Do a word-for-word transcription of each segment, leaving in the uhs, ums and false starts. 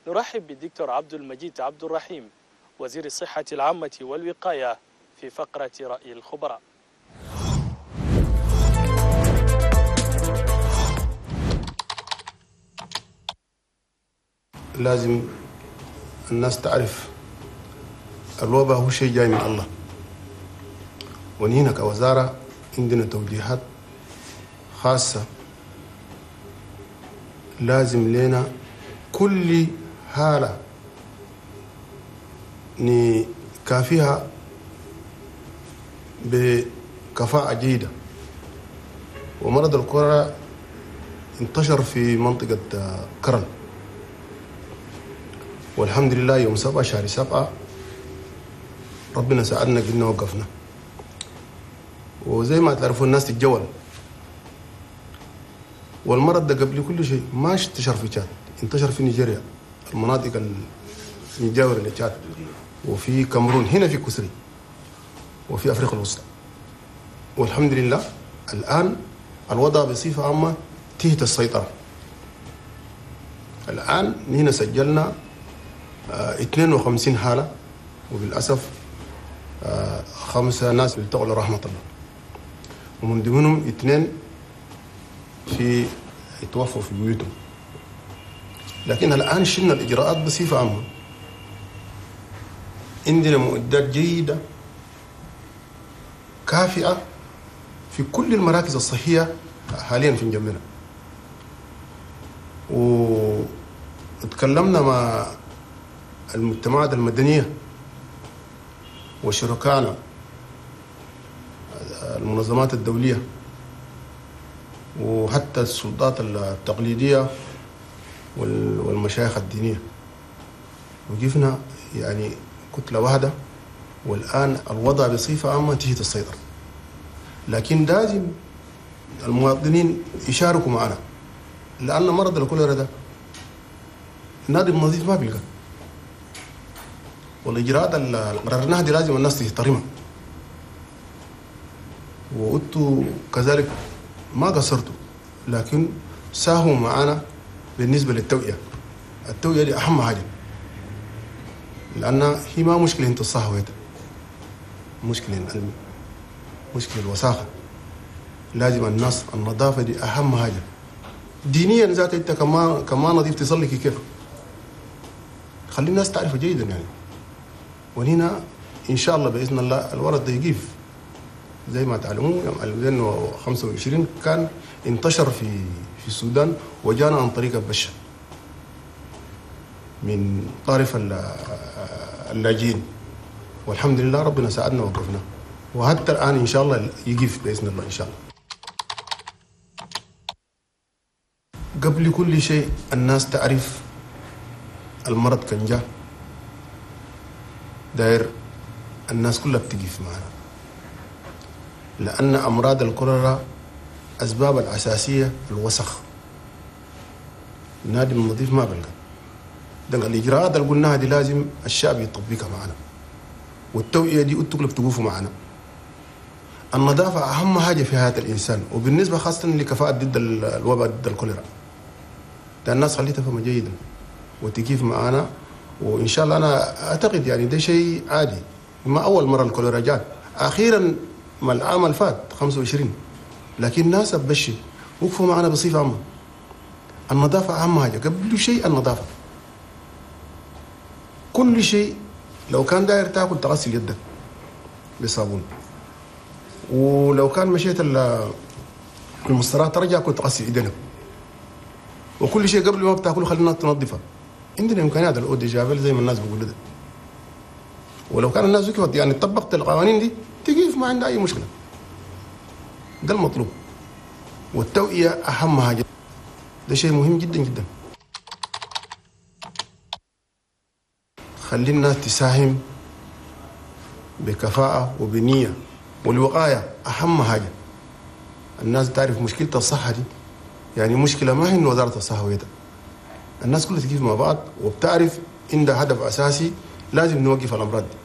نرحب بالدكتور عبد المجيد عبد الرحيم وزير الصحة العامة والوقاية في فقرة رأي الخبراء. لازم الناس تعرف الوباء هو شيء جاي من الله، ونحن كوزارة عندنا توجيهات خاصة لازم لنا كل حالة نكافيها بكفاءة جيدة. ومرض الكوليرا انتشر في منطقة كرن، والحمد لله يوم سبعة شهر سبعة ربنا ساعدنا قلنا وقفنا. وزي ما تعرفوا الناس تتجول، والمرض ده قبل كل شيء ما انتشر في تشاد، انتشر في نيجيريا، المناطق المجاورة لتشاد، وفي كاميرون، هنا في كسري، وفي أفريقيا الوسطى. والحمد لله الآن الوضع بصفة عامة تحت السيطرة. الآن هنا سجلنا اثنين وخمسين حالة، وبالأسف خمسة ناس التقوا لرحمة الله، ومن ضمنهم اثنين في توفوا في بيوتهم. لكن الآن شلنا الإجراءات بصفة عامة، عندنا معدات جيدة كافئة في كل المراكز الصحية حاليا في جنبنا. وتكلمنا مع المجتمعات المدنية وشركائنا المنظمات الدولية وحتى السلطات التقليدية والمشايخ الدينية، وقفنا يعني كتلة واحدة. والآن الوضع بصفة عامة تحت السيطرة، لكن لازم المواطنين يشاركوا معنا، لأن مرض الكوليرا ده النادي النظيف ما بيلقى، والإجراءات اللي قررناها دي لازم الناس تحترمها. وأنتوا كذلك ما قصرتوا، لكن ساهموا معنا بالنسبة للتوعية. التوعية دي أهم حاجة، لأن هي ما مشكلة انت الصحة، مشكلة العلم، مشكلة الوساخة. لازم الناس النظافة دي أهم حاجة. دينيا ذات انت كما كما نظيف تصلي كيف؟ خلي الناس تعرفه جيدا يعني. وهنا إن شاء الله بإذن الله الورد ده يقيف. زي ما تعلمون يوم ألفين وخمسة وعشرين كان انتشر في في السودان، وجانا عن طريق البشة من طرف اللاجئين، والحمد لله ربنا ساعدنا ووقفنا، وحتى الآن إن شاء الله يقف بإذن الله إن شاء الله. قبل كل شيء الناس تعرف المرض كان جاء داير، الناس كلها بتقف معنا، لأن أمراض الكوليرا أسباب الأساسية الوسخ. النادي النظيف ما بلقى. ده الإجراءات اللي قلناها دي لازم الشعب يطبقها معنا، والتوعية دي أنتوا كلكم بتقفوا معنا. النظافة أهم حاجة في حياة الإنسان، وبالنسبة خاصة لكفاءة ضد الوباء ضد الكوليرا. ده الناس خليها تفهم جيدا وتقف معنا، وإن شاء الله أنا أعتقد يعني ده شيء عادي، ما أول مرة الكوليرا جات، أخيرا ما العام اللي فات خمسة وعشرين، لكن الناس بشي وقفوا معنا بصفة عامة. النظافة أهم حاجة، قبل شيء النظافة. كل شيء لو كان داير تاكل تغسل يدك بصابون، ولو كان مشيت المستراح ترجع كنت تغسل ايدينك، وكل شيء قبل ما بتاكله خلينا تنظفه. عندنا امكانيات ال eau de javel زي ما الناس بيقولوا ده، ولو كان الناس وقفت يعني طبقت القوانين دي تقيف، ما عندها اي مشكله. ده المطلوب، والتوعيه اهم حاجه، ده شيء مهم جدا جدا. خلي الناس تساهم بكفاءة وبنية، والوقاية أهم حاجة. الناس تعرف مشكلة الصحة دي، يعني مشكلة ما هي إن وزارة الصحة ويدا، الناس كلها تقف مع بعض وبتعرف إن ده هدف أساسي، لازم نوقف الأمراض دي.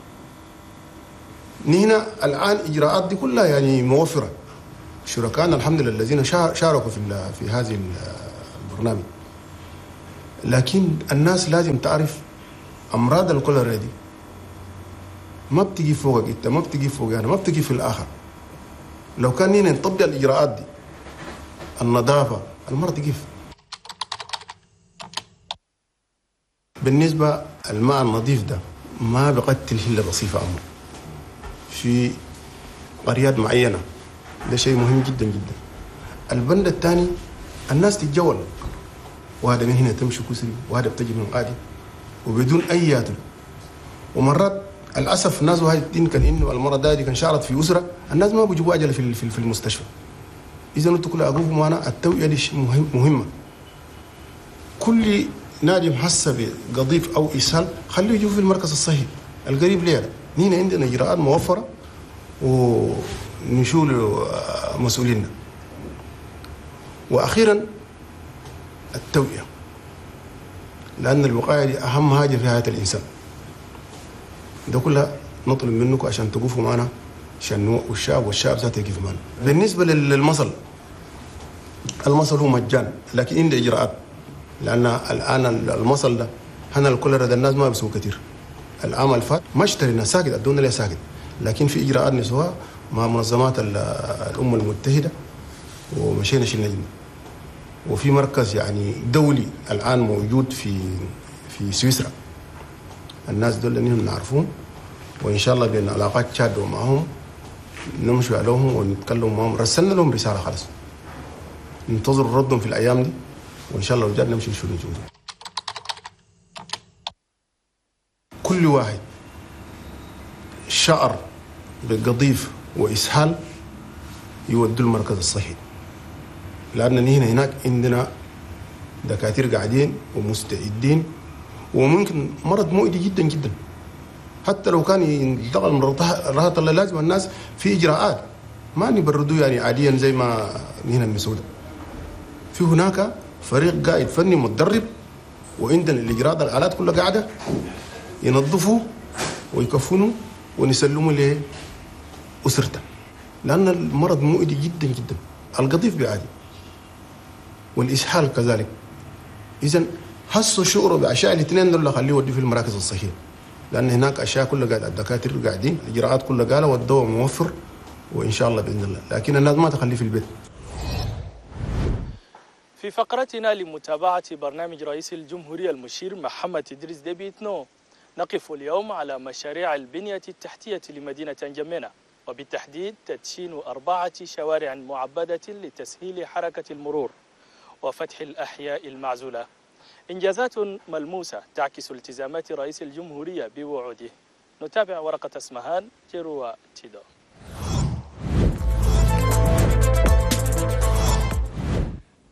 نحن الآن إجراءات دي كلها يعني موفرة. شركائنا الحمد لله الذين شاركوا في في هذه البرنامج. لكن الناس لازم تعرف امراض الكوليرا دي ما بتجي فوقك انت، ما بتجي فوق انا، ما بتجي في الاخر. لو كان نينا نطبق الاجراءات دي، النظافة، المرض يقف. بالنسبة الماء النظيف ده ما بقتل الا بصفة عامة في قريات معينة، ده شيء مهم جدا جدا. البند الثاني الناس تتجول، وهذا من هنا تمشي كسري، وهذا بتجي من قادي وبدون اي ياتل. ومرات للاسف الناس وهي كان انه المرض ده كان شعرت في اسره، الناس ما بيجيبوا اجل في في المستشفى. اذا انتوا كل اقوفوا معنا، التوعية دي مهم مهمة. كل نادي محسب بقضيف او اسهال خليه يجوا في المركز الصحي القريب ليه. نينا عندنا اجراءات موفره ونشول مسؤولينا. واخيرا التوعية، لان الوقاية دي اهم حاجة في حياة الانسان. ده كلها نطلب منكم عشان تقفوا معنا، عشان نوعوا الشعب والشعب ذاته يقف معنا. بالنسبة للمصل، المصل هو مجان لكن عنده اجراءات، لان الان المصل ده هنا الكوليرا ده الناس ما بيسووا كثير. العام اللي فات ما اشترينا ساكت، ادونا ليه ساكت، لكن في اجراءات نسوها مع منظمات الامم المتحدة ومشينا شلنا جدا. وفي مركز يعني دولي الان موجود في في سويسرا، الناس دول انهم نعرفهم، وان شاء الله بين علاقات تشاد ومعهم نمشي عليهم ونتكلم معهم. رسلنا لهم رسالة خلاص، ننتظر ردهم في الايام دي، وان شاء الله رجعنا نمشي نشوف نشوف. كل واحد شعر بقضيف واسهال يودوا المركز الصحي، لان هنا هناك عندنا دكاترة قاعدين ومستعدين، وممكن مرض مؤذي جدا جدا حتى لو كان ينتقل من رهط الله. لازم الناس في اجراءات، ما نبردوه يعني عاديا زي ما هنا المسودة. في هناك فريق قائد فني متدرب، وعندنا الاجراءات الالات كلها قاعدة ينظفوا ويكفنوا ونسلموا لاسرته، لان المرض مؤذي جدا جدا. القضيف بعادي والاسهال كذلك. اذا حسوا شعوروا باشياء الاثنين دول خليه يوديه في المراكز الصحية، لان هناك اشياء كلها قاعدة، الدكاترة قاعدين، الاجراءات كلها قالوا، والدواء موفر وان شاء الله باذن الله، لكن الناس ما تخليه في البيت. في فقرتنا لمتابعة برنامج رئيس الجمهورية المشير محمد إدريس ديبي إتنو، نقف اليوم على مشاريع البنية التحتية لمدينة أنجمينا، وبالتحديد تدشين أربعة شوارع معبدة لتسهيل حركة المرور وفتح الأحياء المعزولة. إنجازات ملموسة تعكس التزامات رئيس الجمهورية بوعوده. نتابع ورقة اسمهان جيروا تيدو.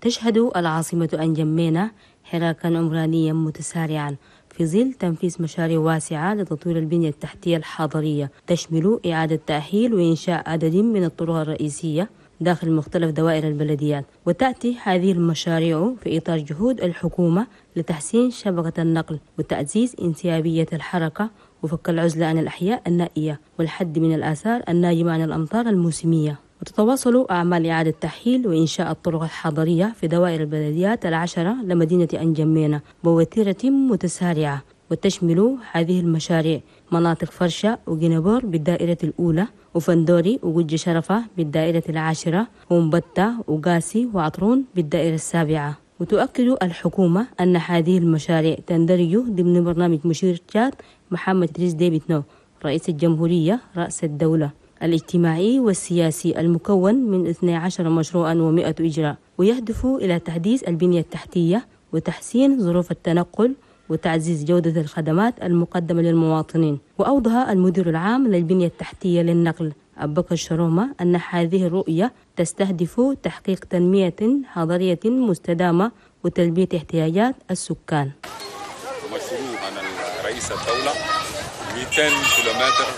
تشهد العاصمة أنجمينا حراكا عمرانيا متسارعا في ظل تنفيذ مشاريع واسعة لتطوير البنية التحتية الحضرية، تشمل إعادة تأهيل وإنشاء عدد من الطرق الرئيسية داخل مختلف دوائر البلديات. وتأتي هذه المشاريع في إطار جهود الحكومة لتحسين شبكة النقل وتعزيز انسيابية الحركة وفك العزلة عن الأحياء النائية والحد من الآثار الناجمة عن الأمطار الموسمية. وتتواصل أعمال إعادة تأهيل وإنشاء الطرق الحضرية في دوائر البلديات العشرة لمدينة أنجمينا بوتيرة متسارعة، وتشمل هذه المشاريع مناطق فرشة وجنبور بالدائرة الأولى، وفندوري وجج شرفة بالدائرة العاشرة، ومبتة وقاسي وعطرون بالدائرة السابعة. وتؤكد الحكومة أن هذه المشاريع تندرج ضمن برنامج مشير تشاد محمد إدريس ديبي إتنو رئيس الجمهورية رأس الدولة الاجتماعي والسياسي المكون من اثني عشر مشروعا ومئة إجراء، ويهدف إلى تحديث البنية التحتية وتحسين ظروف التنقل وتعزيز جودة الخدمات المقدمة للمواطنين. وأوضح المدير العام للبنية التحتية للنقل أبو بكر شرومة أن هذه الرؤية تستهدف تحقيق تنمية حضرية مستدامة وتلبية احتياجات السكان. مشروع عن رئيس الدولة مئتين كيلومتر،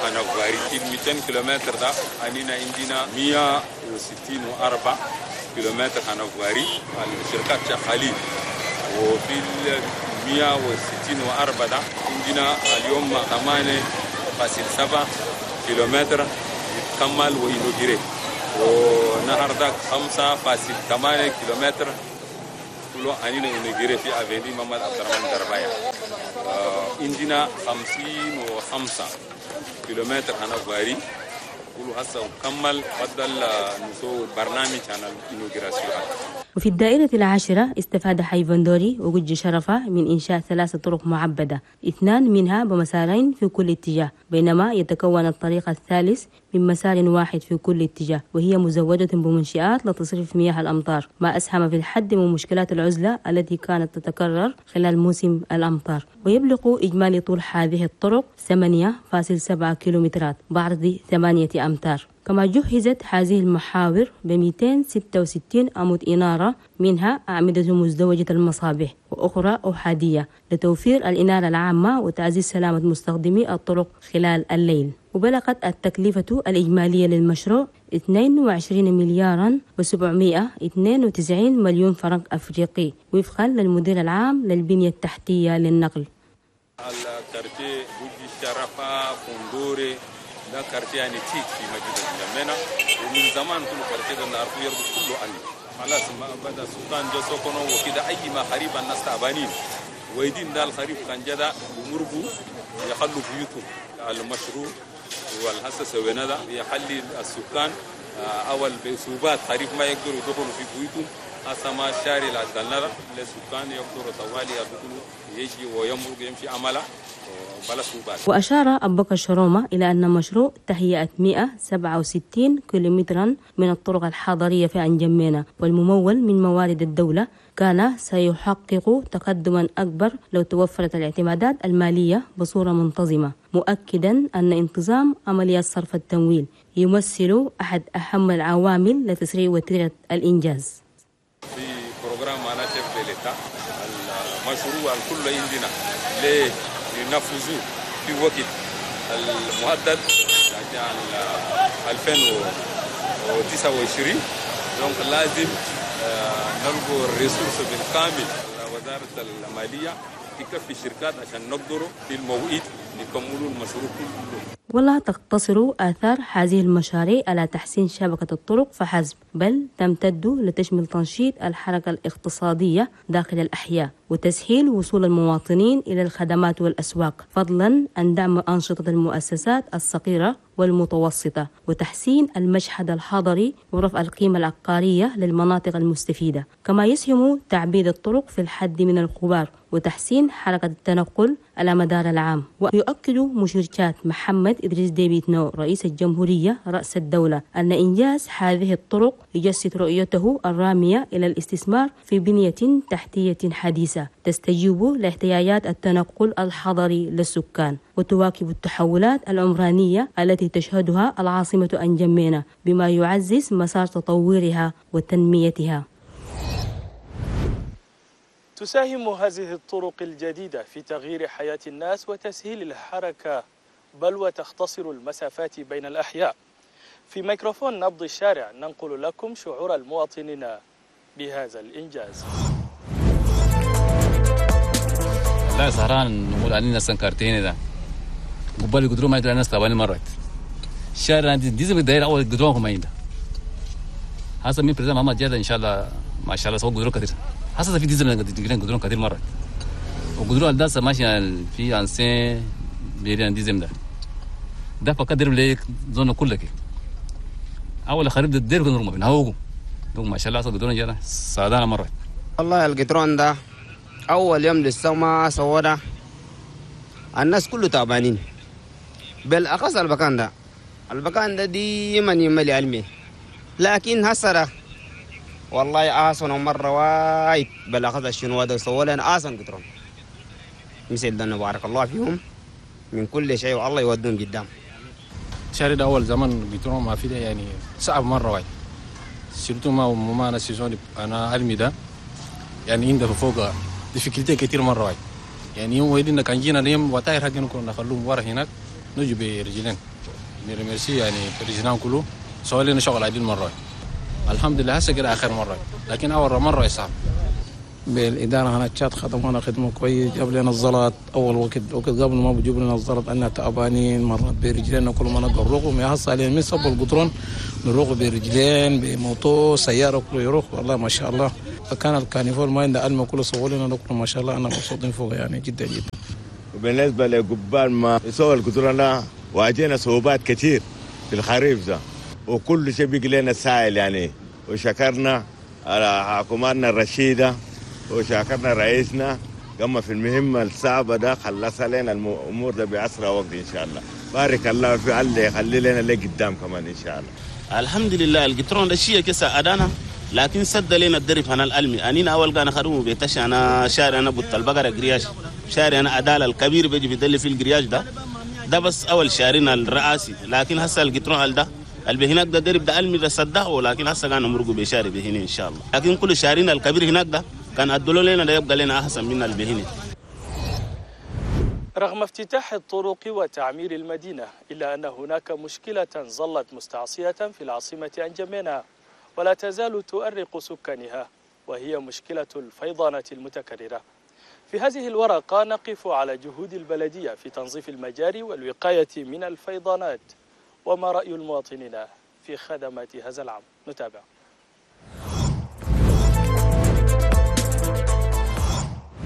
أنا غاريتين مئتين كيلومتر ده أننا عندنا مئة وستين وأربعة كيلومتر أنا غاري الشركات شغالين، وفي مئة وستين وأربعة ده عندنا اليوم ثمانية فاصل سبعة كيلومتر يتكمل وينوجري، ونهار ده خمسة فاصل ثمانية كيلومتر كله كله أنينا inaugurer في avenue محمد عبد الرحمن دربايا. عندنا خمسين وخمسة كيلومتر هنا voirie كله هسه وكمل بدل نسو برنامج عن ال inauguration. وفي الدائرة العاشرة استفاد حي فندوري وجج شرفة من إنشاء ثلاث طرق معبدة، اثنان منها بمسارين في كل اتجاه، بينما يتكون الطريق الثالث من مسار واحد في كل اتجاه، وهي مزودة بمنشآت لتصريف مياه الأمطار، ما أسهم في الحد من مشكلات العزلة التي كانت تتكرر خلال موسم الأمطار. ويبلغ إجمالي طول هذه الطرق ثمانية فاصل سبعة كيلومترات بعرض ثمانية أمتار. كما جهزت هذه المحاور ب مئتين وستة وستين عمود إنارة، منها أعمدة مزدوجة المصابيح وأخرى أحادية لتوفير الإنارة العامة وتعزيز سلامة مستخدمي الطرق خلال الليل. وبلغت التكلفة الإجمالية للمشروع اثنين وعشرين مليارا وسبعمائة واثنين وتسعين مليون فرنك أفريقي، وفقا للمدير العام للبنية التحتية للنقل. ال quartier بوجي شرفة فندوري ده quartier يعني تيت في مدينة انجمينا، ومن زمان كل quartier ده نعرفه يربط كله عني خلاص ما بدا السلطان جو سكنوا وكده أي ما خريب الناس تعبانين ويدين ده الخريف كان جدا بمرقوا يخلوا بيوتهم. المشروع والهسه سوينا ده يخلي السكان أول بصعوبات خريف ما يقدروا يدخلوا في بيوتهم، هسه ما الشارع اللي عدلنا ده للسكان يقدروا طوالي يدخلوا يجي ويمرق يمشي عمله. وأشار أبو بكر شرومة إلى أن مشروع تهيئة مئة وسبعة وستين كيلومترا من الطرق الحضرية في أنجمينا والممول من موارد الدولة كان سيحقق تقدما أكبر لو توفرت الاعتمادات المالية بصورة منتظمة، مؤكدا أن انتظام عمليات صرف التمويل يمثل أحد أهم العوامل لتسريع وتيرة الإنجاز. في programme أنا chef de l'État المشروع الكل عندنا ليه ينفذوه في وقت المحدد يعني ألفين وتسعة وعشرين، donc لازم نلقوا ال ressources بالكامل. وزارة المالية تكفي الشركات عشان نقدروا في الموعد نكملوا المشروع كله. ولا تقتصر آثار هذه المشاريع على تحسين شبكة الطرق فحسب، بل تمتد لتشمل تنشيط الحركة الاقتصادية داخل الأحياء وتسهيل وصول المواطنين إلى الخدمات والأسواق، فضلا عن دعم أنشطة المؤسسات الصغيرة والمتوسطة وتحسين المشهد الحضري ورفع القيمة العقارية للمناطق المستفيدة. كما يسهم تعبيد الطرق في الحد من الغبار وتحسين حركة التنقل على مدار العام. ويؤكد مشير محمد إدريس ديبي إتنو رئيس الجمهورية رأس الدولة أن إنجاز هذه الطرق يجسد رؤيته الرامية إلى الاستثمار في بنية تحتية حديثة تستجيب لاحتياجات التنقل الحضري للسكان وتواكب التحولات العمرانية التي تشهدها العاصمة أنجمينا، بما يعزز مسار تطورها وتنميتها. تساهم هذه الطرق الجديدة في تغيير حياة الناس وتسهيل الحركة، بل وتختصر المسافات بين الأحياء. في ميكروفون نبض الشارع ننقل لكم شعور المواطنين بهذا الإنجاز. لا سهران نقول علينا سنكرتين ده قبل قدروا ما يدري الناس تعبانين مرات الشارع عندي ديزل الدائرة أول قدروا ما ينده هذا من بريزم محمد جاد إن شاء الله ما شاء الله سووا قدروا كثير هذا في ديزل قدروا كثير مرات وقدروا على ده ماشي في أنسين بيريان ديزل ده ده فقدر ليك زون كلك أول خريب الدير كنا رمى بينهوجو ما شاء الله سووا قدروا جانا سعدانا مرات. والله القطران ده أول يوم لسه ما سوونا الناس كله تعبانين بالأخص البكان ده البكان ده ديما يملي علمي، لكن هسه والله آسن مرة وايد بالأخص الشنو ده سووا لنا آسن قطران مثل ده بارك الله فيهم من كل شيء والله يودون قدام. شارع ده أول زمان قطران ما في ده يعني صعب مرة وايد surtout ما ما أنا saison أنا علمي ده يعني عنده فوق difficulté كتير مرة واحد يعني يوم ويدنا كان جينا اليوم وتاير حقنا كنا نخلوهم ورا هناك نجي برجلين ن remercier يعني président كله سوى لنا شغل عديل مرة واحد. الحمد لله هسه كده آخر مرة، لكن أول مرة صعب. بالإدارة هنا تشاد خدمونا خدمة كويس، جاب لنا الزلط أول وقت وقت قبل ما بيجيب لنا الزلط أننا تعبانين مرات برجلين كل ما نقدر نروح يا هسه علينا من صب القطرون نروح برجلين بموتو سيارة كله يروح والله ما شاء الله. كان ال caniveau ما عنده ألمة كله سووا لنا ده كله ما شاء الله، أنا مبسوطين فوق يعني جدا جدا. وبالنسبة لقبال ما يسوي القدرة واجهنا صعوبات كثير في الخريف ده، وكل شيء بيجي لنا سائل يعني، وشكرنا على حكومتنا الرشيدة وشكرنا رئيسنا قام في المهمة الصعبة ده، خلص لنا الأمور ده بأسرع وقت إن شاء الله. بارك الله في الله يخلي لنا اللي قدام كمان إن شاء الله. الحمد لله القطرون ده شيء كسا أدانا، لكن سد لنا الدرب هنا الألمي. أنينا أول كان خدمة بيتش أنا شارع أنا بطل بقرة قرياش، شارع أنا عدالة الكبير بيجي بيدل في القرياش ده ده بس أول شارعنا الرئاسي، لكن هسه القطرون ده اللي هناك ده درب ده ألمي ده سده، ولكن هسه كان مرقوا بشارع بهنا إن شاء الله. لكن كل شارعنا الكبير هناك ده كان أدلوا لنا ده يبقى لنا أحسن من البهنة. رغم افتتاح الطرق وتعمير المدينة، إلا أن هناك مشكلة ظلت مستعصية في العاصمة أنجمينا ولا تزال تؤرق سكانها، وهي مشكلة الفيضانات المتكررة. في هذه الورقة نقف على جهود البلدية في تنظيف المجاري والوقاية من الفيضانات، وما رأي المواطنين في خدمات هذا العام. نتابع.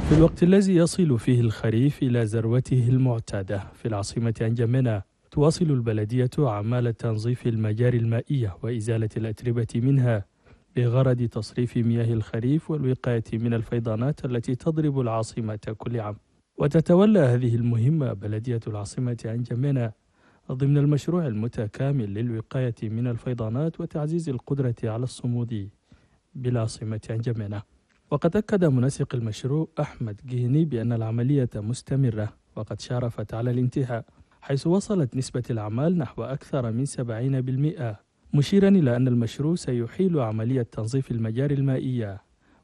في الوقت الذي يصل فيه الخريف إلى ذروته المعتادة في العاصمة أنجمينا، تواصل البلدية أعمال تنظيف المجاري المائية وإزالة الأتربة منها بغرض تصريف مياه الخريف والوقاية من الفيضانات التي تضرب العاصمة كل عام. وتتولى هذه المهمة بلدية العاصمة أنجمينا ضمن المشروع المتكامل للوقاية من الفيضانات وتعزيز القدرة على الصمود بالعاصمة أنجمينا. وقد أكد منسق المشروع أحمد جهني بأن العملية مستمرة وقد شارفت على الانتهاء، حيث وصلت نسبة الأعمال نحو أكثر من سبعين بالمئة، مشيرا إلى أن المشروع سيحيل عملية تنظيف المجاري المائية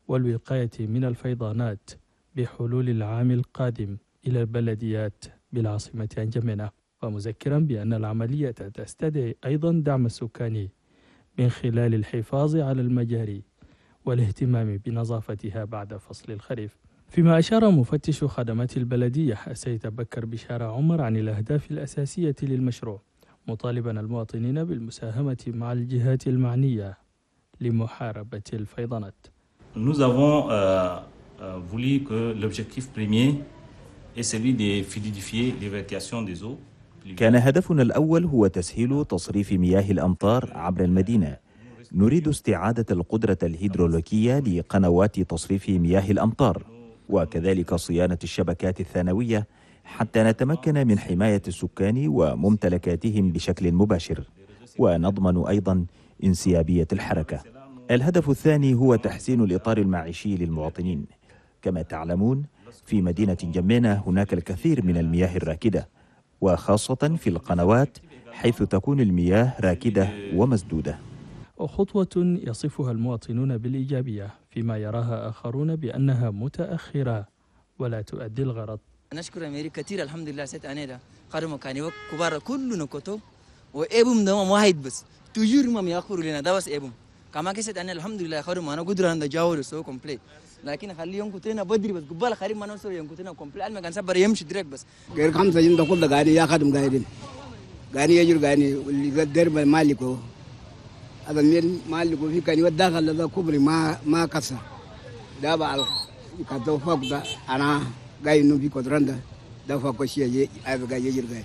والوقاية من الفيضانات بحلول العام القادم إلى البلديات بالعاصمة أنجمينا، ومذكرا بأن العملية تستدعي أيضا دعم السكان من خلال الحفاظ على المجاري والاهتمام بنظافتها بعد فصل الخريف. فيما أشار مفتش خدمات البلدية السيد بكر بشارة عمر عن الأهداف الأساسية للمشروع، مطالبا المواطنين بالمساهمة مع الجهات المعنية لمحاربة الفيضانات. Nous avons euh, voulu que l'objectif premier est celui de fluidifier l'évacuation des eaux. كان هدفنا الأول هو تسهيل تصريف مياه الأمطار عبر المدينة. نريد استعادة القدرة الهيدرولوجية لقنوات تصريف مياه الأمطار، وكذلك صيانة الشبكات الثانوية حتى نتمكن من حماية السكان وممتلكاتهم بشكل مباشر، ونضمن أيضا انسيابية الحركة. الهدف الثاني هو تحسين الإطار المعيشي للمواطنين. كما تعلمون في مدينة جمينة هناك الكثير من المياه الراكدة، وخاصة في القنوات حيث تكون المياه راكدة ومسدودة. خطوة يصفها المواطنون بالإيجابية، فيما يراها آخرون بأنها متأخرة ولا تؤدي الغرض. نشكر أمريكا كثير، الحمد لله سيت أنا قرموا كانوا كبار كلنا كتب وإبهم ده واحد بس تجور ما يأخروا لنا ده بس إبهم كما كسيت أنا الحمد لله خرموا أنا قدر أن جاور سو كومبليت، لكن خليهم كتيرنا بدري بس قبل خريم ما نوصل يوم كتيرنا كومبليت أنا ما كان سبر يمشي دريك بس. غير خمسة جند كل ده قاعد يا خدم قاعدين قاعد يجر قاعد واللي قدر مالكه هذا الميل مالكه في كان يودخل هذا كبري ما ما كسر ده بعد كتو فوق ده أنا قاعد نبي كدران ده ده فوق شيء هذا قاعد يجر قاعد.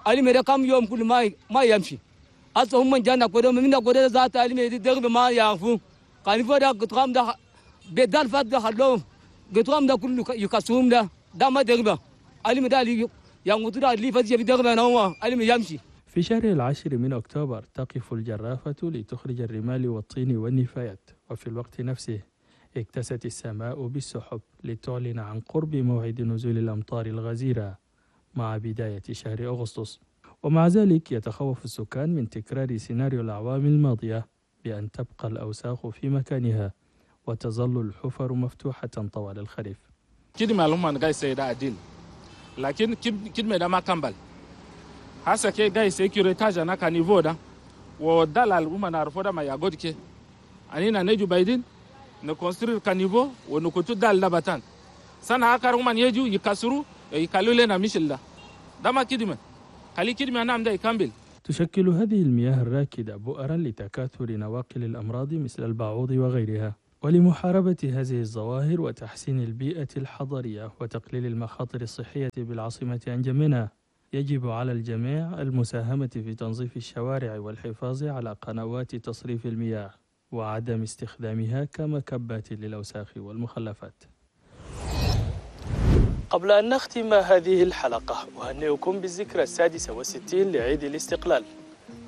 أنا مرة كم يوم كل ما ما يمشي أصلا هم من جانا كده من كده ذات أنا مرة درب ما يعرفون كان يفرق قطرام ده بدل فات ده خلوه قطرام ده كله يكسرهم ده ده ما دربه أنا مرة اللي يموت ده اللي فات يبي دربه نوما أنا يمشي. في شهر العاشر من أكتوبر تقف الجرافة لتخرج الرمال والطين والنفايات، وفي الوقت نفسه اكتست السماء بالسحب لتعلن عن قرب موعد نزول الأمطار الغزيرة مع بداية شهر أغسطس. ومع ذلك يتخوف السكان من تكرار سيناريو الأعوام الماضية بأن تبقى الأوساخ في مكانها وتظل الحفر مفتوحة طوال الخريف. كلمة لهم قاعد سيدا عديل، لكن كلمة ده ما كمل. هسه كي قاعد سيكوريتاج أنا كنيفو ده ودلال هم نعرفه ده ما يقعد كي أنينا نيجو بايدين نكونسترير كنيفو ونكتو دال لبتان سنة آخر هم يجوا يكسروا يكلوا لنا مش ده ده ما كلمة خلي كلمة نعم ده يكمل. تشكل هذه المياه الراكدة بؤرا لتكاثر نواقل الأمراض مثل البعوض وغيرها، ولمحاربة هذه الظواهر وتحسين البيئة الحضرية وتقليل المخاطر الصحية بالعاصمة أنجمينا، يجب على الجميع المساهمة في تنظيف الشوارع والحفاظ على قنوات تصريف المياه وعدم استخدامها كمكبات للأوساخ والمخلفات. قبل أن نختم هذه الحلقة، أهنئكم بالذكرى السادسة والستين لعيد الاستقلال.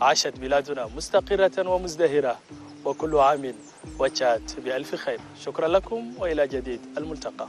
عاشت بلادنا مستقرة ومزدهرة، وكل عام وتشاد بألف خير. شكرا لكم، وإلى جديد الملتقى.